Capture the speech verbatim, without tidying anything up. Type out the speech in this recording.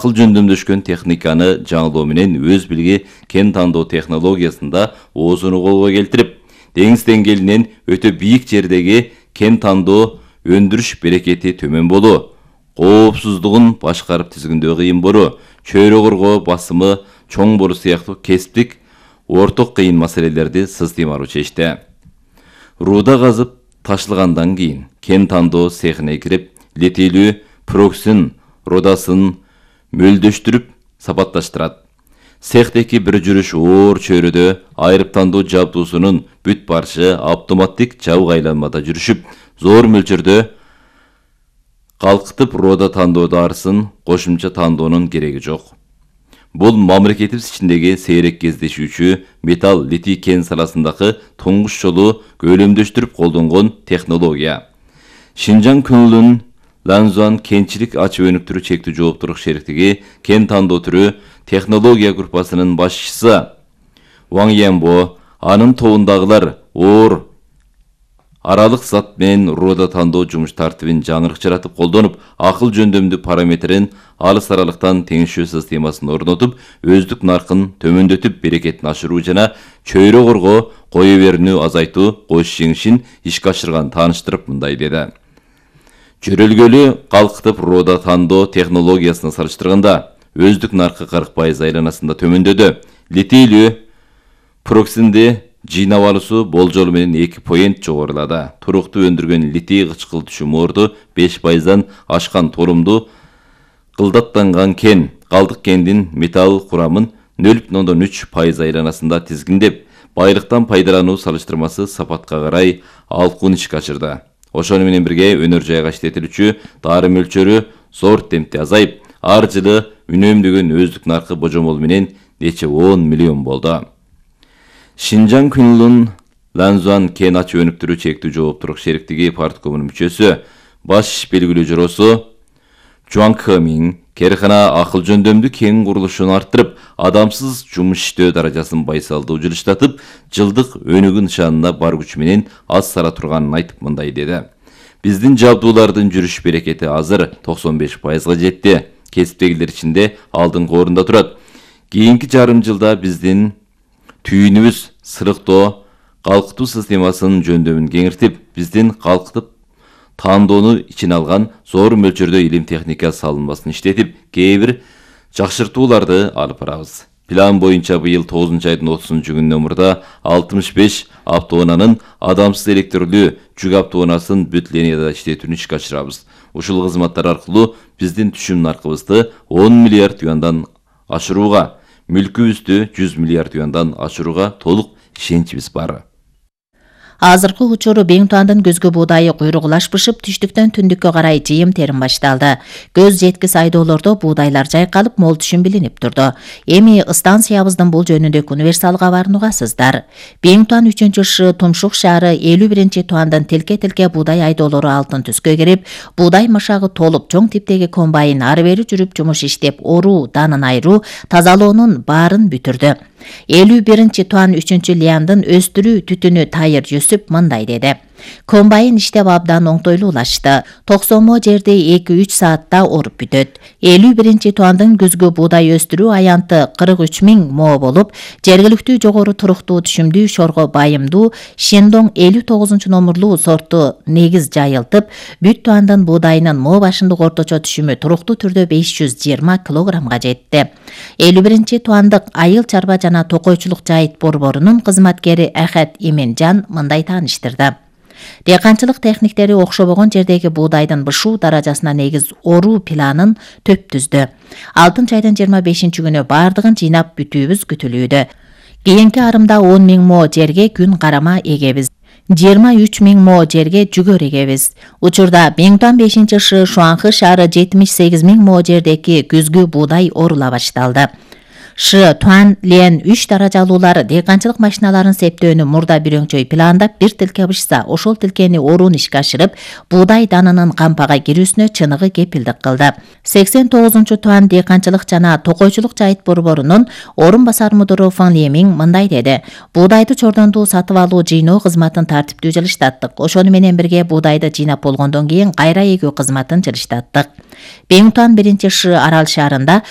акыл жөндөмдөшкөн техниканы жаңылоо менен өз билги кен тандоо технологиясында оозуну колго келтирип, деңиз деңгээлинен өтө бийик жердеги кен тандоо өндүрүш берекети төмөн болуу, коопсуздугун башкарып тизгиндөө кыйын болуу, чөйрө коргоо басымы чоң болуу сыяктуу кесиптик орток кыйын маселелерди сыстыймалуу чечти. Рууда казып ташылгандан кийин кен тандоо цехине кирип, литийлүү проксин рудасын мөлдөштүрүп сапатташтырат. Цехтеки бир жүрүш оор чөйрөдө айрып тандоо жабдуусунун бүт барышы автоматтик жабык айланмада жүрүшүп, зор мөлчөрдө калкытып рода тандоо дарысын кошумча тандоонун кереги жок. Бул мамлекетибиз ичиндеги сейрек кездешүүчү металл литий кен саласындагы туңгуч жолу көлөмдөштүрүп колдонгон технология. Шинжаң Күнлүн Ланзуан кенчилик ачып өнүктүрүү чектүү жооптуулук шериктиги кен тандоо түрү технология группасынын башчысы Ван Янбо анын тобундагылар оор аралык зат менен рода тандоо жумуш тартибин жаңырыкчыратып колдонуп, акыл жөндөмдүү параметрин алыс аралыктан теңишүү системасын орнотуп, өздүк наркын төмөндөтүп, берекетин ашыруу жана чөйрө коргоо, кое берүүнү азайтуу кош жеңишин ишке ашырган тааныштырып мындай деди. Жөрөлгөлү калкытып рода тандоо технологиясына салыштырганда өздүк наркы кырк пайыз айланасында төмөндөдү. Литийлүү проксинди жыйнап алуусу болжол менен эки поинт жогорулады. Туруктуу өндүргөн литий кычкылтуучу морду беш пайыздан ашкан толумду кылдаттанган кен, калдык кендин металл курамын нөл бүтүн ондон үч пайыз айланасында тизгиндеп, байлыктан пайдалануу салыштырмасы сапатка карай алкуун ишке ашырды. Ошону менен бирге өнөр жайга иштетилүүчү дары мөлчөрү зор темпте азайып, ар жылы үнөмдөгөн өздүк наркы божомол менен нече он миллион болду. Шинжаң Күнлүн Ланзуан кен ачып өнүктүрүү чектүү жооптуулук шериктиги парткомунун мүчөсү, баш иш белгилүү жоросу Жуан Кэмин керкана акыл жөндөмдүү кен курулушун арттырып, адамсыз жумуш иштөө даражасын байсалдуу жылыштатып, жылдык өнүгүү нышанына бар күчү менен аз сара турганын айтып мындай деди. Биздин жабдуулардын жүрүш берекети азыр токсон беш пайызга жетти. Кесиптегилер ичинде алдыңкы орунда турат. Кийинки жарым жылда биздин түйүнүбүз сырыктоо, калкытуу системасынын жөндөмүн кеңиртип, биздин калкытып тандоону ичине алган зор мөлчөрдө илим техника салынмасын иштетип, кээ бир жакшыртууларды алып барабыз. План боюнча быйыл тогузунчу айдын отузунчу күнүнөн мурда алтымыш беш автоунаанын адамсыз электрлүү жүк автоунаасын бүт линияда иштетүүнү ишке ашырабыз. Ушул кызматтар аркылуу биздин түшүм наркыбызды он миллиард юандан ашырууга, мүлкүбүздү жүз миллиард юандан ашырууга толук ишеничибиз бар. Азыркы учуру Беңтуандын көзгө буудайы куйругулашпышып, түштүктөн түндүккө карай жыйым терим башталды. Көз жеткис айдоолордо буудайлар жайкалып, мол түшүм билинип турду. Эми станциябыздын бул жөнүндөгү универсал кабарын угасыздар. Беңтуан үчүнчү ш Тумшук шаары элүү биринчи туандан тилке-тилке буудай айдоолору алтын түскө кирип, буудай машагы толуп, чоң типтеги комбайн ары бери жүрүп жумуш иштеп, оруу, данын айыруу, тазалоонун баарын бүтүрдү. элүү биринчи туан үчүнчү лиандын өстүрүү түтүнү Тайыр Жүсүп мындай деди. Комбайн иштеп абдан оңтойлуулашты. токсонмо жерди эки үч саатта оруп бүтөт. элүү биринчи туандын күзгү буудай өстүрүү аянты кырк үч миң мо болуп, жергиликтүү жогору туруктуу түшүмдүү шорго байымдуу Шендоң элүү тогузунчу номурлуу сорту негиз жайылтып, бүт туандын буудайынын мо башындык орточо түшүмү туруктуу түрдө беш жүз жыйырма килограммга жетти. элүү биринчи туандык айыл чарба жана токойчулук жайыт борборунун кызматкери Ахат Именжан мындай тааныштырды. Дыйканчылык техниктери окшобогон жердеги буудайдын бышуу даражасына негиз оруу планын төп түздү. алтынчы айдын жыйырма бешинчи күнү бардыгын жыйнап бүтүүбүз күтүлүүдө. Кийинки арымда он миң мо жерге күн карама эгебиз. жыйырма үч миң мо жерге жүгөр эгебиз. Учурда Беңтуан бешинчи ш Шуанхы шаары жетимиш сегиз миң мо жердеги күзгү буудай орула башталды. Ш Туан Лен үч даражалуулар дыйканчылык машиналарын септөөнү мурда бирөңчөй пландап, бир тилке бышса, ошол тилкени оруун ишке ашырып, буудай данынын кампага кирүүсүнө чыныгы кепилдик кылды. сексен тогузунчу туан дыйканчылык жана токойчулук жайыт борборунун орун басар мудуру Фан Лемин мындай деди. Буудайды чордондуу сатып алуу жыйноо кызматын тартиптүү жылыштаттык. Ошону менен бирге буудайды жыйнап болгондон кийин кайра эгүү кызматын жылыштаттык. Беңтуан биринчи ш Арал шаарында